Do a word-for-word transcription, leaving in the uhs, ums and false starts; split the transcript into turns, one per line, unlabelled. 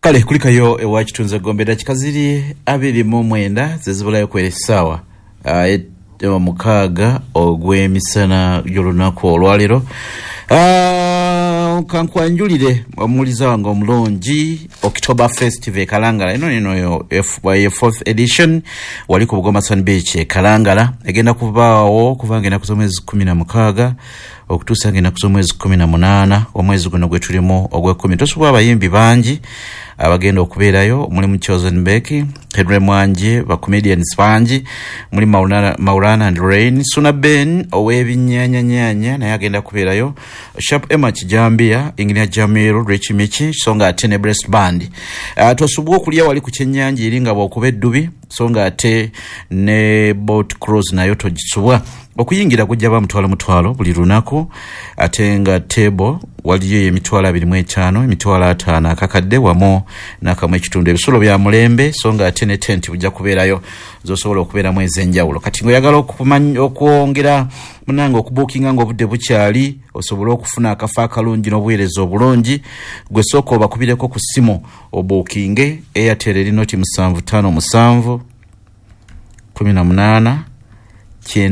Kale kulikayo ewa Kitunze Gombe. Dakika ziri abiri mu mwenda zezibulayo kwera essaawa ah, et- mukaaga ogw'emisana gy'olunaku olwaleero. Ah, kankwanjulire omuwuliza wange omulungi, October Festival e Kalangala. Eno nino yo ye fourth edition, wali ku Bugoma Sun Beach e Kalangala. Egenda kubaawo kubanga ennaku z'omwezi kumi na mukaaga okutuusa nga ennaku z'omwezi kumi na munaana, omwezi guno gwe tulimu ogwekumi. Tosobola, abayimbi bangi abagenda okubeerayo mulimu Chosen Becky, Henry Mwanje, bacomedians bangi, muli Maulana, Maulana and Rain, Suna Ben ow'ebinyanyanyanya naye agenda kubeerayo, Sharp Emma Kijambia, Engineer Jamiru, Rich Michi, so nga ate ne Breast Band. uh, tosubwa okulya wali ku kyennyanja eri nga bw'okuba eddubi, so nga ate ne boat cruise nayo togisubwa. Okuyingira gujja ba mutwalo mutwalo buli lunaku, ate nga table waliyo emitwalo abiri mu etaano, emitwalo ataano, akakadde wamu n'akamu ekitundu. Ebisulo bya mulembe, so nga ate ne tent bujja kubeerayo zosobola okubeeramu ez'enjawulo. Kati ngaoyagala okumanya- okwongera munange okubuukinga nga obudde bukyali, osobole okufuna akafo akalungi n'obuweereza obulungi, gwe sooka obakubireko ku ssimu obuukinge. Airtel eri noti musanvu ttaano musanvu kumi na munaana